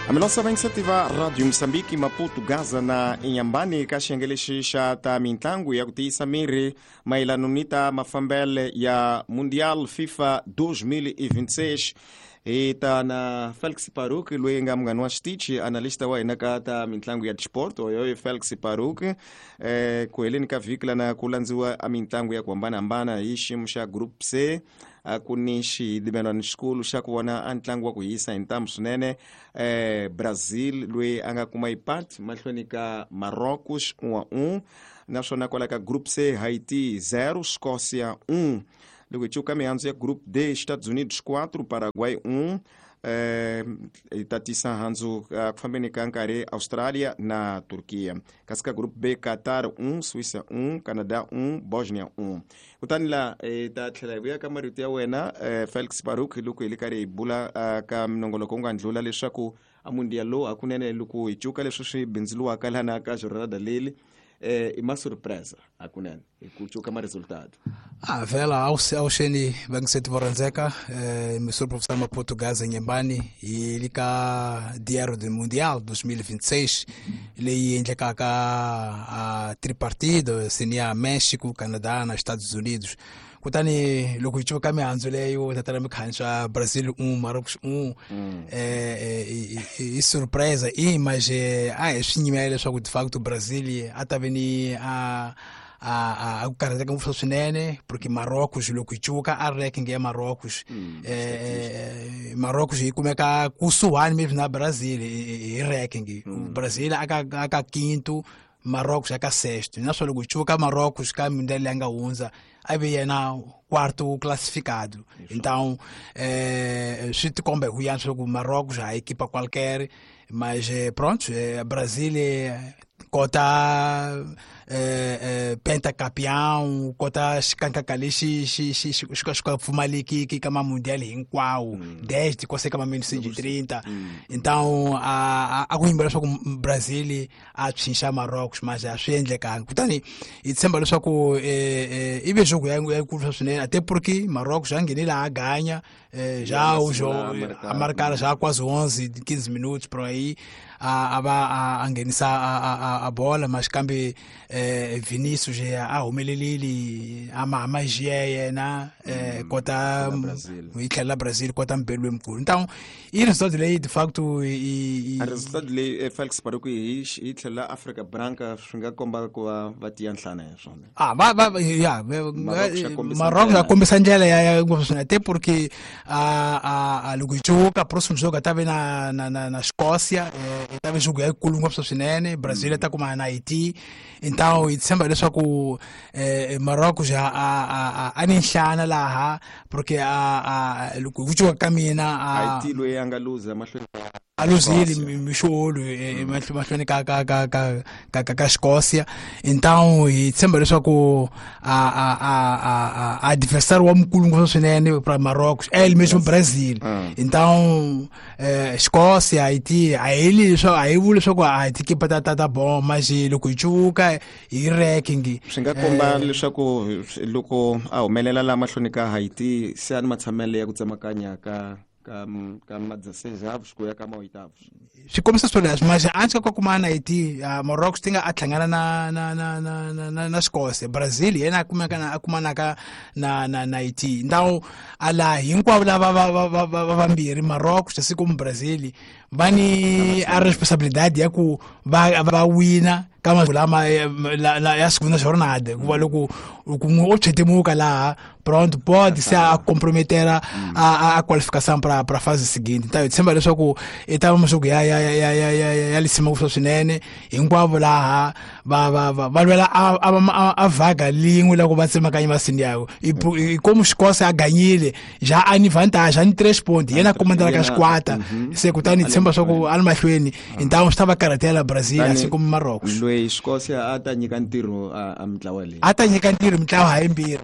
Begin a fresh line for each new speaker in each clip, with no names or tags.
Amilosa iniciativa Radio Moçambique Maputo Gaza na Inhambane ka xiyenge lexi xa ta mintlangu ya ku tiyisa miri mayelano ni ta mafambele ya Mundial FIFA 2026. Hi ta na Felix Paruk loyi nga munghani wa xitichi, analista wa hina ka ta mintlangu ya disport, oyo Felix Paruk. Ku heleni ka vhiki lana ku landziwa a mintlangu ya ku hambanahambana hi xiyimo xa Group C. A ku ni xidimelwano xikulu xa ku vona a ntlangu wa ku hisa hi ntamu swinene. Brazil loyi a nga kuma ipat mahlweni ka Marrocos 1-1, naswona kwala ka Group C Haiti 0 Escócia 1. Loko hi cuka mihandzu ya Group D, Estados Unidos 4 Paraguay 1. Hi ta tisa handzu ku fambeni ka nkarhi Australia na Turkiya. Kasi ka Group B Qatar 1 Suíça 1 Canada 1 Bosnia 1. Kutani la hi ta tlhela hi vuya ka marito ya wena, Felix Baruk, loko hi le karhi hi bula ka minongoloko wu nga ndlula leswaku a mundial lowu hakunene loko hi cuka leswi swi bindzuriwaka lana ka jornada leli, i ma surpresa hakunene hi ku cuka ma resultado.
Vela awuxeni vangiseti vo rhandzeka, misuri professor Maputo Gaza Nyembani hi le ka Diário do Mundial 2026 leyi endlekaka a tripartido seniya Mexico, Canadá na Estados Unidos. Kutani loko hi cuka mihandzu leyo tatana mikhanswa Brazil 1 Marrocos 1, i surpresa i mas a hi swi nyimela leswaku de facto Brazil a ta ve ni a ku karhateka ngopfu swinene, porque Marrocos loko hi cuka a ranking ya Marrocos, Marrocos yi kumeka kusuhani maybe na Brazil hi ranking. Brazil aka quinto, Marrocos aka sexto. Naswona loko hi cuka Marrocos ka mundial leyi nga hundza a ve yena quarto classificado. Então swi tikomba hi ku yantswa loko Marrocos a equipa qualquer, mas pronto, Brazil kota pentacampeão, kota xikankaka lexi xi xi xi xi ka xi ka pfumalekiki ka mamundial hinkwawo desde kose ka ma 1930. Então a ku yimbela leswaku Brazil a tshunxa Marrocos, mas a swi endlekanga. Kutani hi tshemba leswaku i ve jogo ya yikulu swinene, até porque Marrocos já nghenile a ganha, já o jogo a marcar já quase 11 15 minutos por aí, a va a nghenisa a bola, mas kambe Vinicius a humelelile a ma magia yena, kota yi tlhela Brazil kota mbelu lomkhulu. Então i resultado leyi de facto
i resultado leyi, Felix Paruk, hi tlhela Africa Branca swi nga komba ku va va tiya nhlana ya swona.
Ah, va va ya Marrocos a kombisa ndlela ya ngopfu swinene, até porque a loko hi cuka próximo jogo ta ve na Escócia, ta ve jogo yikulu ngopfu swinene. Brazil ta kuma na Haiti. Então hi tshemba leswaku Marrocos a ni nhlana laha, porque a loko ku cuka ka mina
Haiti loyi a nga luza mahlweni
a luzile mixolo mahlweni ka Escócia. Então hi tshemba leswaku a adversário wa mukulu ngopfu swinene para Marrocos é ele mesmo, Brazil. Então Escócia, Haiti, a hi leswi a hi vuli leswaku a hi tikipa ta bon, mas loko hi cuka hi ranking
swi nga komba leswaku loko a humelela la mahlweni ka Haiti se a ni matshamelo ya ku tsemakanya ka ma-16avos ku ya ka ma-oitavos.
Swi kombisa swoleswo, mas antswa ka kuma na Haiti, Marrocos ti nga a hlangana na Escócia, Brazil yena a kumeka na a kumanaka na Haiti. Então ala hinkwavo lava va vambirhi, Marrocos asi como Brazil, va ni a responsabilidade ya ku va wina ka lama ya segunda jornada, hikuva loko n'we o tshwetimuka laha, pronto, pode se a comprometer a qualificação para a fase seguinte. Então hi tshemba leswaku i ta va masiku ya lisima ngopfu swinene. Hinkwavo laha va lwela a vaga lin'we loko va tsemakanya masini yawo. Como Escócia a ganhile já a ni vantagem, a ni 3 pontos, yena comandela ka xikwata se, kutani hi tshemba swa ku a ni mahlweni. Então swi ta va karhatela Brazil assim como Marrocos.
Loyi
Loyi Escócia a ta nyika ntirho a mintlawa leyi.
A ta nyika ntirho mintlawa hayimbirhi.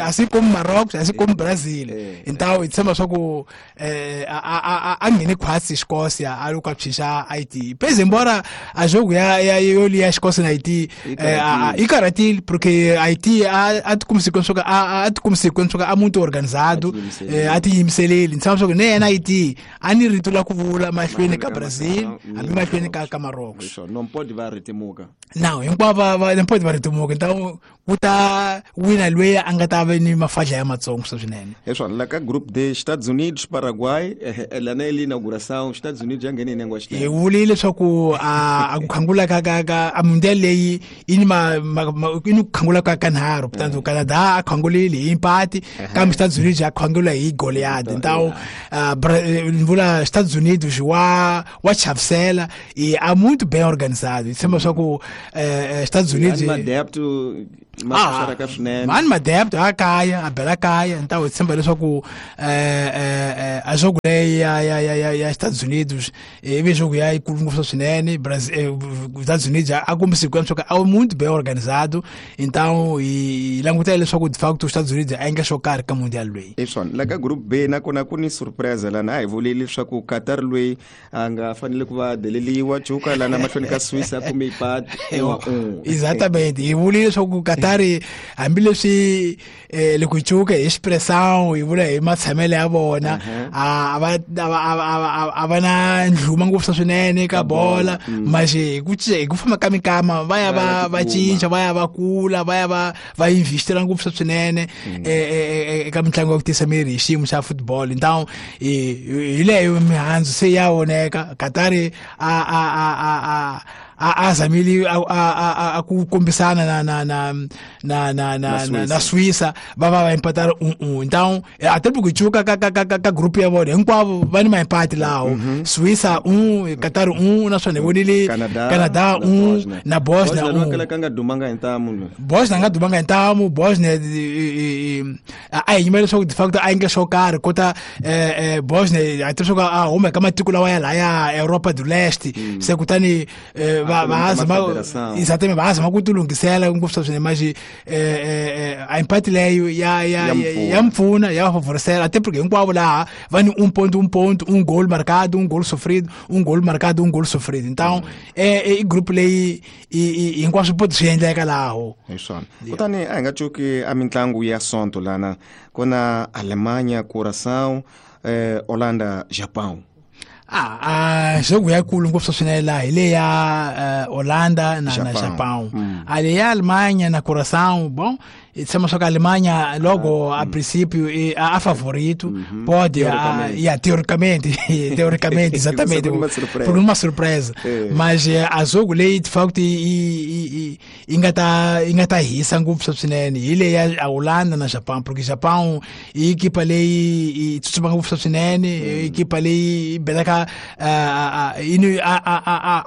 A swi komi Maroc, a swi komi Brazil. Então hi tshemba swa ku a nghene khwatsi Escócia a loko a phyisa Haiti. Pese embora a jogo ya yoli ya Escócia na Haiti i karhatile porque Haiti a tikumise swa a tikumise swa a muito organizado, a tiyimiseleli. Ni tshemba swa ku ne yena Haiti a ni rito la ku vula mahlweni ka Brazil, hambi mahlweni ka Marrocos.
Non pode va ritimuka.
Não, hinkwavo va non pode va ritimuka. Então ku ta wina loyi a nga ta va ni mafadla ya matsongo swinene.
Leswo la ka group D, Estados Unidos, Paraguay, la na inauguração, Estados Unidos ya nghene nengwa
xitele. Hi vulile leswaku a ku khangula ka a mundial leyi i ni i ni ku khangula ka kanharhu. Portanto Canada a khangulile hi empate, kambe Estados Unidos a khangula hi goleada. Então vula Estados Unidos wa chavisela e a muito bem organizado. Hi tshemba swa ku Estados Unidos
adepto
mani madepto a kaya a bela kaya. Então hi tshemba leswaku a jogo leyi ya Estados Unidos ivi jogo ya yikulu ngopfu swinene. Brazil, Estados Unidos a kombise ku leswaku a muito bem organizado. Então hi langutela leswaku de facto Estados Unidos a endla xo karhi ka mundial loyi.
Leswona la ka group B nakona ku ni surprise lana. A hi vuleli leswaku Qatar loyi a nga fanele ku va deleliwa cuka lana mahlweni ka Swiss a kume ipati.
Exatamente, hi vulile leswaku Qatar hambileswi loko hi cuka hi expressão hi vula hi matshamelo ya vona a va na ndlhuma ngopfu swinene ka bola, mas hi ku famba ka minkama va ya va cinca, va ya va kula, va ya va investira ngopfu swinene eka mitlangu ya ku tisa miri hi xiyimo xa football. Então hi leyo mihandzu se ya voneka. Qatar a zamile a ku kombisana na Suíça, va empatar 1-1. Então até porque cuka ka group ya vona hinkwavo va ni maempate lawo. Suíça 1, Qatar 1, naswona hi vonile Canada 1 na Bosnia 1.
Ka nga dumanga hi ntamu.
Bosnia nga dumanga hi ntamu. Bosnia a hi yimela leswaku de facto a endla xo karhi kota Bosnia a tiva swa ku a huma eka matiko lawa ya laya Europa do Leste. Se kutani exatamente va zama ku tilunghisela ngopfu swinene, mas a empate leyo ya mpfuna ya favorecela até porque hinkwavo laha va ni 1 ponto, 1 ponto, 1 gol marcado, 1 gol sofrido, 1 gol marcado, 1 gol sofrido. Então i group leyi hinkwaswo poti swi endleka laho.
Hi swona. Kutani a hi nga cuki a mitlangu ya Sonto lana kuna Alemanha, Curaçao, Holanda, Japão.
Jogo ya kulu ngopfu swinene laha hi le ya Holanda na Japão. A le ya Alemanha na Curaçao, bom, tshemba swa ku Alemanha logo a princípio a favorito, pode teoricamente teoricamente exatamente por uma surpresa, mas a jogo leyi de facto yi nga ta hisa ngopfu swinene hi le ya Holanda na Japão, porque Japão i equipa leyi yi tsutsuma ngopfu swinene, equipa leyi belaka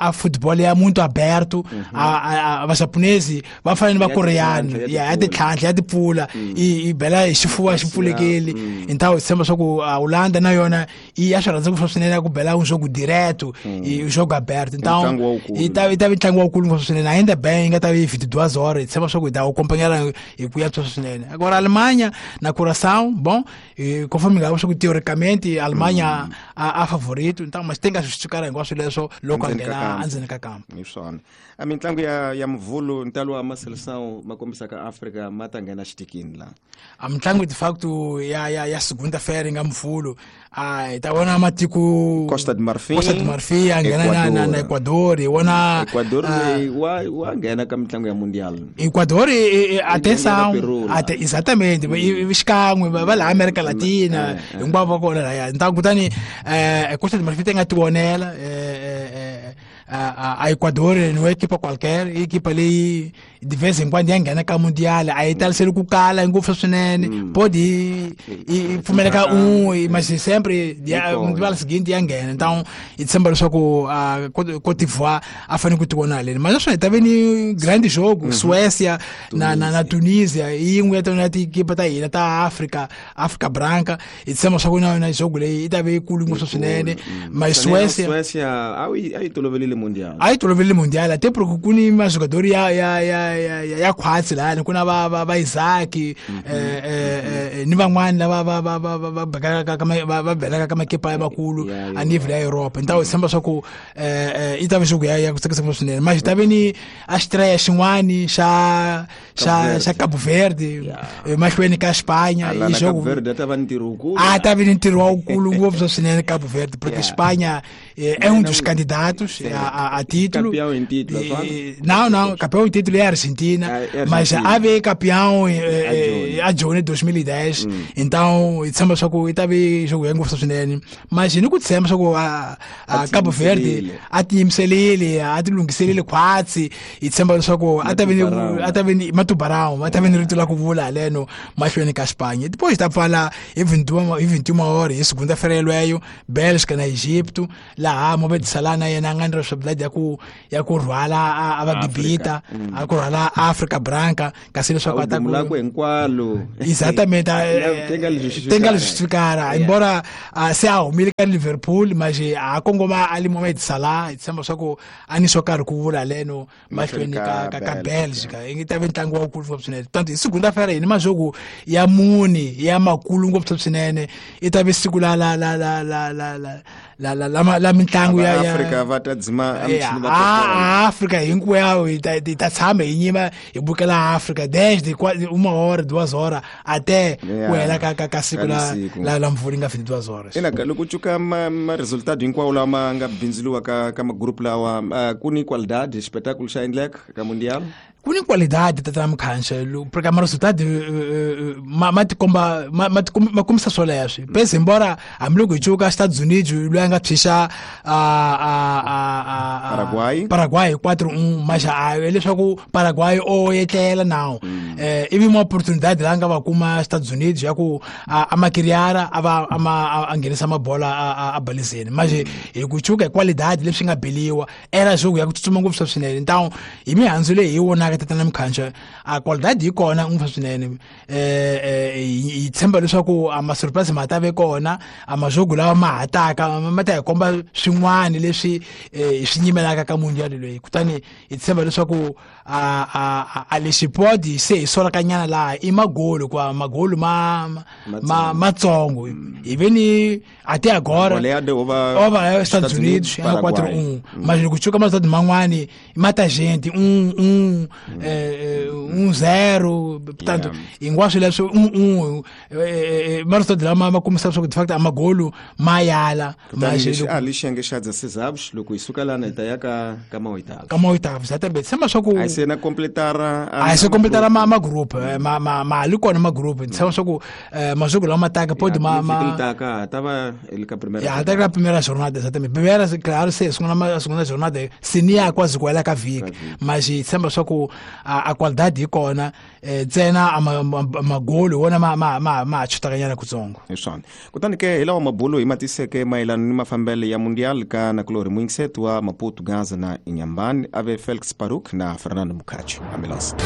a football ya muito aberto. A japonesi va fana ni va koreano ya titlhantlha ya tipfula i bela hi xifuva xi pfulekile. Então hi tshemba swa ku Holanda na yona i ya swi rhandza ngopfu swinene ku bela un jogo direto i jogo aberto. Então i ta ntlangu wukulu ngopfu swinene, ainda bem yi nga ta vi 22 horas. Hi tshemba swa ku hi ta acompanhar hi ku yantswa swinene. Agora Alemanha na Curaçao, bom, conforme nga swa ku teoricamente Alemanha a favorito, então mas tem que justificar hinkwaswo leswo loko a nghena endzeni ka kampo.
Hi swona. A mitlangu ya Mvhulu ntalo wa maseleção ma kombisaka Afrika ma ta nghena xitikini la.
A mitlangu de facto ya segunda-feira nga Mvhulu hi ta vona matiko
Costa de Marfim
a nghena na Ecuador. Hi vona
Ecuador wa nghena ka mitlangu ya mundial.
Ecuador atenção, exatamente, xikan'we va la America Latina hinkwavo va kona laya. Então kutani Costa de Marfim ti nga ti vonela a Ecuador não é equipa qualquer, equipa leyi de vez em quando ya nghena ka mundial, a yi taliseli ku kala ngopfu swinene, pode pfumeleka mas sempre mundial seguinte ya nghena. Então hi tshemba leswaku Côte d'Ivoire a fanele ku ti vona haleni, mas naswona hi ta ve ni grande jogo Suécia na Tunisia, yin'we ya tona tiekipa ta hina ta Africa, Africa Branca. Hi tshemba swa ku na yona jogo leyi yi ta ve yikulu ngopfu swinene. Mas Suécia
a yi tolovelile mundial.
A yi toloverile mundial até porque ku ni majogador ya khwatsi lahani ku na va Isaac ni van'wani lava va bekaka va belaka ka makepa ya makulu a nível ya Europa. Então tshemba swa ku i ta va xogo ya ku tsakisa swinene. Mas ta ve ni a estreia xin'wani xa Cabo Verde mahlweni ka Espanha
i jogo Cabo Verde ta va ntirho wukulu.
A ta va ni ntirho wukulu ngopfu swinene Cabo Verde porque Espanha é um dos candidatos a título.
Campeão em título.
Não, campeão em título é a Argentina, mas a ve campeão a Jone 2010. Então, tshemba swa ku i ta ve jogo ya ngopfu swinene. Mas ni ku tshemba swa ku a Cabo Verde a tiyimiselile, a ti lunghiselile khwatsi, hi tshemba leswaku a ta ve ni Matubarão, a ta ve ni rito la ku vula haleno mahlweni ka Espanha. Depois ta pfala hi 21 horas, hi segunda-feira yeleyo, Bélgica na Egipto, laha Mohamed Salah na yena a nga ni responsabilidade ya ku rhwala a va Gibita, a ku rhwala Africa Branca, kasi leswaku a ta
ku hinkwalo.
Exatamente, tem que justificar. Embora se a humile ka Liverpool, mas a kongoma ali Mohamed Salah, tshemba swa ku a ni swo karhi ku vula leno mahlweni ka Bélgica. I ta ve ntlangu wa wukulu ngopfu swinene. Tanto hi segunda-feira hi ni majogo ya mune ya makulu ngopfu swinene. I ta ve siku la la la la la la la la la la mintlangu ya
Afrika va ta dzima amchini va
Afrika hinkwayo hi ta tshama hi nyima hi bukela Afrika desde 1 hora 2 horas até ku hela ka siku la mvula nga 22 horas.
Ina loko cuka ma resultado hinkwawo lama nga bindzuluwa ka magroup lawa ku ni qualidade espetáculo xa endleka ka mundial.
Ku ni qualidade tata Mukhanxa porque ma resultado ma tikomba ma kombisa swoleswo. Pese embora hambiloko hi cuka Estados Unidos loyi a nga tshisa Paraguay 4-1 mas leswaku Paraguay o etlela nawu ivi uma oportunidade la nga va kuma Estados Unidos ya ku a makiriara a va a nghenisa mabola a balizeni. Mas hi ku cuka hi qualidade leswi nga beliwa era jogo ya ku tsutsuma ngopfu swinene. Então hi mihandzu leyi hi vonaka tata Mukhanxa a qualidade yi kona ngopfu swinene. Hi tshemba leswaku a ma surprise ma ta ve kona, a majogo lawa ma hataka ma ta hi komba swin'wana leswi hi swi nyimelaka ka mundial loyi. Kutani hi tshemba leswaku a lexi podi se hi solakanyana laha i magolo kwa magolo ma matsongo hi ve ni até agora ova Estados Unidos é 4-1, mas loko cuka ma man'wani mata gente 1-1 1-0, portanto hinkwaswo leswo 1-1 ma resultado lama ma kombisa leswaku de facto a magolo ma yala.
Mas a lixenge xa 16 avos loko hi suka lana hi ta ya ka maoitavo.
Ka maoitavo exatamente. Tshemba swa ku
a se na completar
a se completar ma group ma li kona ma group. Tshemba swa ku majogo lama taka pode ma
taka ta va ka primeira.
Ya até a primeira jornada exatamente. Primeira, claro, se a segunda jornada se nem quase com ela ka viki. Mas tshemba swa ku a qualidade yi kona ntsena a magolo wona ma chutakanyana kutsongo.
Hi swona. Kutani ke hi lawa mabulo hi matiseke mayelana ni mafambele ya mundial ka nakulori Mwingiseto wa Maputo, Gaza na Inhambane, ave Felix Paruk na Fernando Mukhacho. Amilosa.